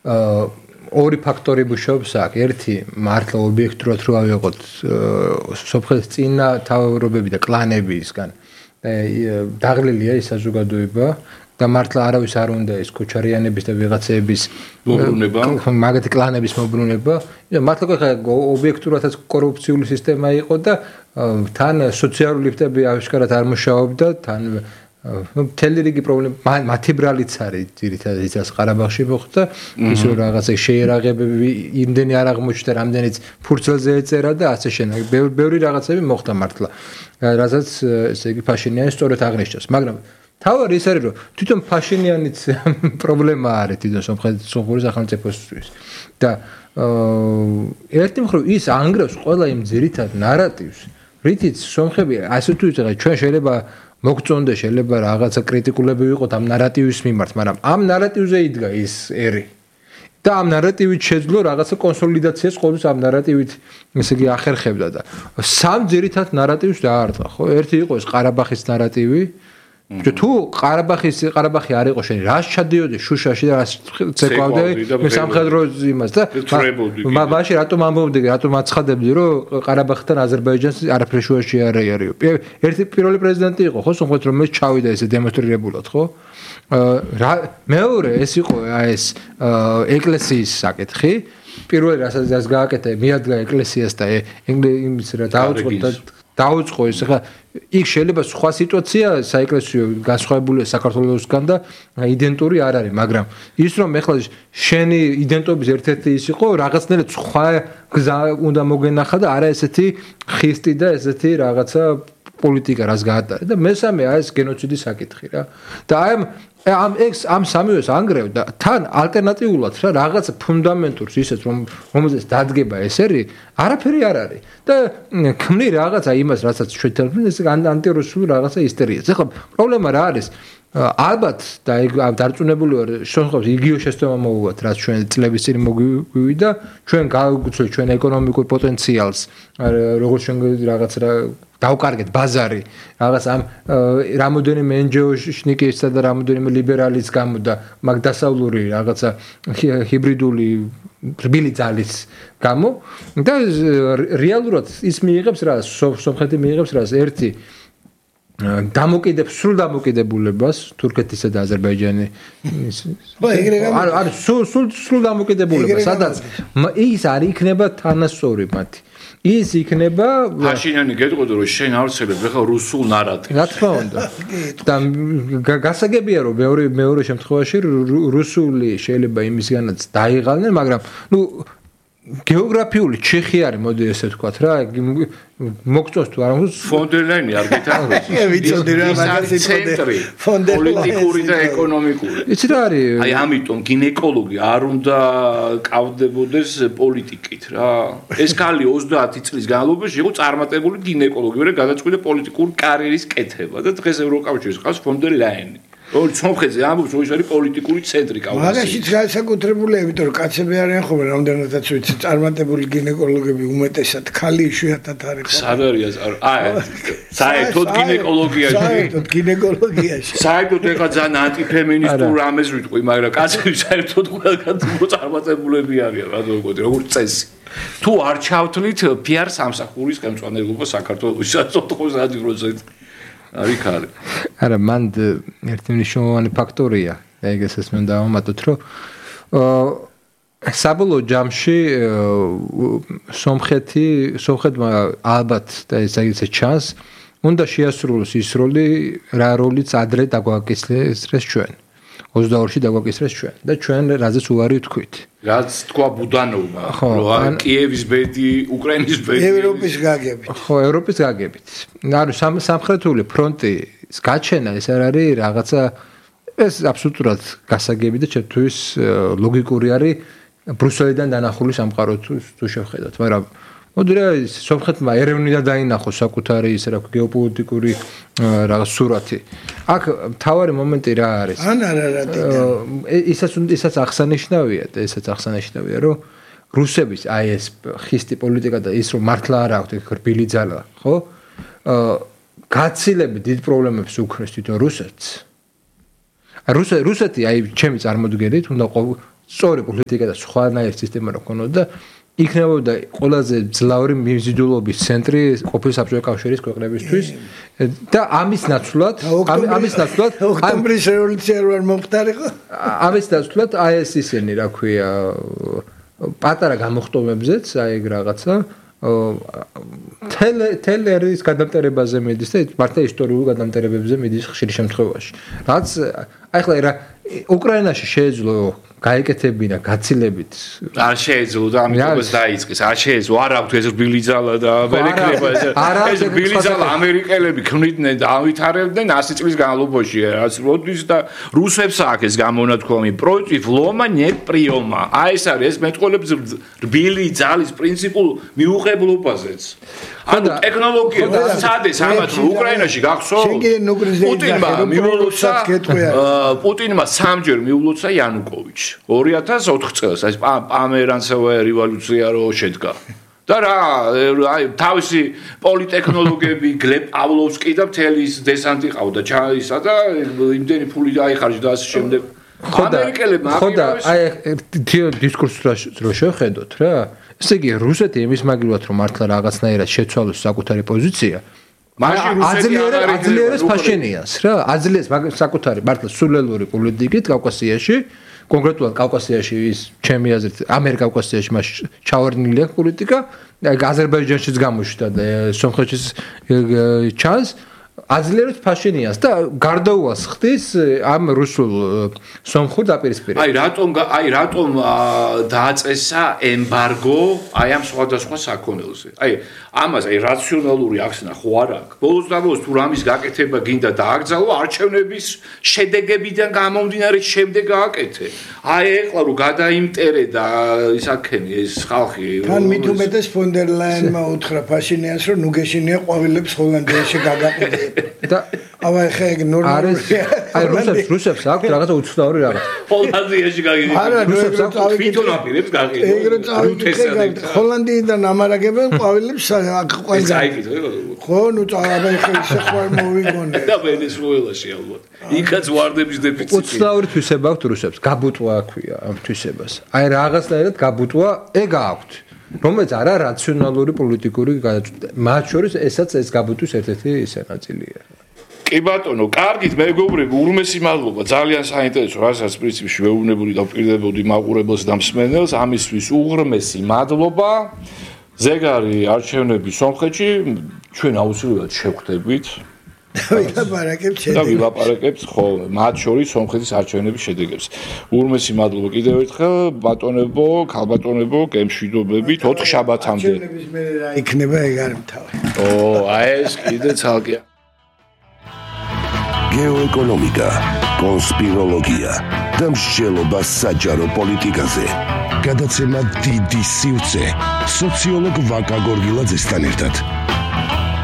ორი ფაქტორი ბუშობს აქ. ერთი მართლა ობიექტურად რო ავიღოთ სოფხეთის წინა თავრობები და კლანებისგან დაღლილია ის საზოგადოება და მართლა არავის არ უნდა ის ქოჩარიანების და ვიღაცების მობრუნება, მაგათი კლანების მობრუნება. მართლა ხა ობიექტურადაც კორუფციული სისტემა იყო და თან სოციალური ლიფტები აღშკარად არ მუშაობდა, თან მთელი რიგი პრობლემა მათი ბრალიც არის ძირითადად იცას ყარაბაღში მოხდა ის რომ რაღაცა შეერაღებები იმდენი არ აღმოჩნდა რამდენიც ფურცელზე ეწერა და ასე შემდეგ ბევრი რაღაცები მოხდა მართლა რასაც ესე იგი ფაშინიანი სწორად აღნიშნავს მაგრამ თავარი ის არის რომ თვითონ ფაშინიანიც პრობლემა არის თვითონ სომხეთის სახელმწიფოსთვის და ერთი მხრივ ის ანგრევს ყველა იმ ძირითად ნარატივს რითიც სომხები ასე თუ იცი ჩვენ შეიძლება მოგწონდა შეიძლება რაღაცა კრიტიკულები ვიყოთ ამ ნარატივის მიმართ, მაგრამ ამ ნარატივზე იდგა ის ერი. და ამ ნარატივით შეძლო რაღაცა კონსოლიდაციას ყოველთვის ამ ნარატივით ესე იგი ახერხებდა და სამ ძირითად ნარატივს დაარტყა, ხო? ერთი იყო ეს ყარაბაღის ნარატივი. თუ ყარაბაღი არ იყო შენ რას ჩადიოდი შუშაში და რას ცეკვავდი მე სამხედრო იმას და მაშინ რატომ ამბობდი რატომ აცხადებდი რომ ყარაბაღთან აზერბაიჯანს არაფერი შუაში არ არისო ერთი პირველი პრეზიდენტი იყო ხო სომხეთს რომ ეს ჩავიდა ესე დემონსტრირებულად ხო მეორე ეს იყო ეს ეკლესიის საკითხი პირველი რასაც გააკეთა მიადგა ეკლესიას და იმის რა დაუწყო ეს ხა იქ შეიძლება სხვა სიტუაცია საეკლესიო განსხვავებულია საქართველოსგან და იდენტური არ არის მაგრამ ის რომ ეხლა შენი იდენტობის ერთ-ერთი ის იყო რაღაცნაირად სხვა გზა უნდა მოგენახა და არა ესეთი ხისტი და ესეთი რაღაცა პოლიტიკა რას გაატარა და მესამე ეს გენოციდის საკითხი რა და ამ სამივეს ანგრევ და თან ალტერნატიულად რა რაღაც ფუნდამენტურს ისეთ რომელზეც დადგება ეს არის არაფერი არ არის და ქმნი რაღაცა იმას რასაც შეთავაზებენ ეს ანტირუსული რაღაცა ისტერიაც ეხლა პრობლემა რა არის ალბათ და დარწმუნებული ვარ სომხებს იგივე შეცდომა მოუვათ რაც ჩვენ წლების წინ მოგვივიდა ჩვენ გავუგუცეთ ჩვენ ეკონომიკურ პოტენციალს როგორც ჩვენ რაღაც დავკარგეთ ბაზარი რაღაც ამ რამოდენიმე NGO-შნიკისა და რამოდენიმე ლიბერალის გამო და მაგ დასავლური რაღაცა ჰიბრიდული რბილი ძალის გამო და რეალურად ის მიიღებს რა სომხეთი მიიღებს რა ერთი სრულ დამოკიდებულებას თურქეთისა და აზერბაიჯანის არ სრულ დამოკიდებულებას სადაც ის არ იქნება თანასწორი მათი ის იქნება ფაშინიანი გეტყოდა რომ შენ ავრცელებ ახლა რუსულ ნარატივს რა თქმა უნდა და გასაგებია რომ მეორე შემთხვევაში რუსული შეიძლება იმისგანაც დაიღალნენ მაგრამ ნუ გეოგრაფიული ჩეხი არის მოდი ესე ვთქვათ რა მოგწონს თუ არა ფონდერლაინი არ გითხრათ ვიცოდი რა მაგაზი ცენტრი პოლიტიკური და ეკონომიკური იცი რა არის აი ამიტომ გინეკოლოგი არ უნდა კავდებოდეს პოლიტიკით რა ეს ქალი 30 წლის განმავლობაში იყო წარმატებული გინეკოლოგი მე გადაწყვიტა პოლიტიკური კარიერის კეთება და დღეს ევროკავშირის ყავს ფონდერლაინი სომხეთზე ამბობს რომ ის არის პოლიტიკური ცენტრი კავკასიაში. მაგაშიც განსაკუთრებულია, იმიტომ რომ კაცები არიან ხოლმე რამდენადაც ვიცი, წარმატებული გინეკოლოგები უმეტესად ქალი იშვიათად არის. სად არის საერთოდ გინეკოლოგიაში. საერთოდ გინეკოლოგიაში. საერთოდ ეხა ძალიან ანტიფემინისტურ რამეს ვიტყვი, მაგრამ კაცები საერთოდ ყველგან წარმატებულები არიან, რა თქმა როგორც წესი. თუ არ ჩავთვლით PR სამსახურის ხელმძღვანელობა საქართველოს საწოთხოს ადგილზე არის ხარი. არა, მან ერთი მნიშვნელოვანი ფაქტორია, ეგესაც მე დავამატოთ, რომ საბოლოო ჯამში სომხეთმა ალბათ და ეს ჩანს, უნდა შეასრულოს ის როლი, რა როლიც ადრე დაგვაკისრეს ჩვენ. 22-ში დაგვაკისრეს ჩვენ და ჩვენ რაზეც უარი ვთქვით. რაც თქვა ბუდანოვმა, რომ კიევის ბედი, უკრაინის ბედი, ევროპის გაგებით. ხო, ევროპის გაგებით. ანუ სამხრეთული ფრონტის გაჩენა ეს არ არის რაღაცა ეს აბსოლუტურად გასაგები და ჩემთვის ლოგიკური არის ბრუსელიდან დანახული სამყარო თუ შევხედოთ, მაგრამ მოდი რა სომხეთმა ერევნიდან დაინახო საკუთარი ის რა გეოპოლიტიკური რაღაც სურათი. აქ მთავარი მომენტი რა არის? ისაც აღსანიშნავია და ისაც აღსანიშნავია, რომ რუსების აი ეს ხისტი პოლიტიკა და ის რომ მართლა არ აქვს რბილი ძალა, ხო? გაცილებით დიდ პრობლემებს უქმნის თვითონ რუსეთს. რუსეთი აი ჩემი წარმოდგენით უნდა სწორი პოლიტიკა და სხვანაირი სისტემა რო ქონოდა იქნებოდა ყველაზე ძლავრი მიმზიდულობის ცენტრი ყოფილი საბჭოთა კავშირის ქვეყნებისთვის და ამის ნაცვლად ოქტომბრის რევოლუცია რო არ მომხდარიყო ამის ნაცვლად აი ეს ისინი რა ქვია პატარა გამოხტომებზეც აი ეგ რაღაცა თელერის გადამტერებაზე მიდის და მართლა ისტორიულ გადამტერებებზე მიდის ხშირ შემთხვევაში რაც აი ხლა რა უკრაინაში შეეძლო გაეკეთებინა გაცილებით არ შეეძლო და ამიტომაც დაიწყეს არ შეეძლო არ აქვს ეს რბილი ძალა და ვერ ეკრება ეს რბილი ძალა ამერიკელები ქმნიდნენ და ავითარებდნენ 100 წლის განმავლობაში რაც როდის და რუსებს აქვს ეს გამონათქვამი პროექტი ვლომა не პრიომა აი ეს არის ეს მეტყოლებს რბილი ძალის პრინციპულ მიუღებლობაზეც ანუ ტექნოლოგია სადეს ამათ უკრაინაში გახსოვთ პუტინმა სამჯერ მიულოცა იანუკოვიჩი 2004 წელს ეს პამერანცევая რევოლუცია რო შედგა და რა აი თავისი პოლიტექნოლოგები გლებ პავლოვსკი და მთელი დესანტი ყავდა ჩაისა და იმდენი ფული დაიხარჯა და ასე შემდეგ ამერიკელებმა აი დისკურსს რო შეხედოთ რა ესე იგი რუსეთი იმის მაგივრად რომ მართლა რაღაცნაირად შეცვალოს საკუთარი პოზიცია აძლიერებს ფაშინიანს რა აძლიერებს საკუთარი მართლა სულელური პოლიტიკით კავკასიაში კონკრეტულად კავკასიაში ის ჩემი აზრით ამერიკა-კავკასიაში მას ჩავარდნილი აქვს პოლიტიკა აზერბაიჯანშიც გამოჩნდა და სომხეთშიც ჩანს აძლიერებს ფაშინიანს და გარდაუვალს ხდის ამ რუსულ სომხურ დაპირისპირებას. აი რატომ დააწესა ემბარგო აი ამ სხვადასხვა საქონელზე. აი ამას აი რაციონალური ახსნა ხო არ აქვს. ბოლოს და ბოლოს თუ რამის გაკეთება გინდა დააგზავნო არჩევნების შედეგებიდან გამომდინარე შემდეგ გააკეთე. აი ეხლა რომ გადაიმტერე და ისაქენი ეს ხალხი თან მით უმეტეს ფონ დერ ლაინმა უთხრა ფაშინიანს რომ ნუ გეშინია ყვავილებს ჰოლანდიაში გაგაყიდე. და აი ხე ნორმალური აი რუსებს აქვს რაღაცა უცნაური რაღაც ჰოლანდიაში გაგიდი რუსებს აქვს თვითონ აპირებს გაგიდი ეგრე წავიდეთ ჰოლანდიიდან ამარაგებენ ყვავილებს აქ ყველგან ხო ნუ წავაბა ხე ისე ხوار მოვიგონე და ვენესუელაში ალბათ იქაც ვარდების დეფიციტი უცნაური თვისება აქვს რუსებს გაბუტვა აქვია ამ თვისებას აი რაღაცნაირად გაბუტვა ეგ აქვს რომელიც არა რაციონალური პოლიტიკური მათ შორის ესაც ეს გაბუტვის ერთ-ერთი ისე ნაწილია. კი ბატონო, კარგით მეგობრები, ურმესი მადლობა, ძალიან საინტერესო, რასაც პრინციპში ვეუბნებოდი და ვპირდებოდი მაყურებელს და მსმენელს, ამისთვის უღრმესი მადლობა. ზეგარი არჩევნები სომხეთში, ჩვენ აუცილებლად შევხვდებით. და ვილაპარაკებთ ხო მათ შორის სომხეთის არჩევნების შედეგებს. ურმესი მადლობა კიდევ ერთხელ ბატონებო, ქალბატონებო, გემშვიდობებით 4 შაბათამდე. არჩევნების მე რა იქნება ეგ არ მთავარი. აი ეს კიდე ცალკე. გეოეკონომიკა, კონსპიროლოგია და მსჯელობა საჯარო პოლიტიკაზე. გადაცემა დიდი სივრცე სოციოლოგ ვაკა გორგილაძესთან ერთად.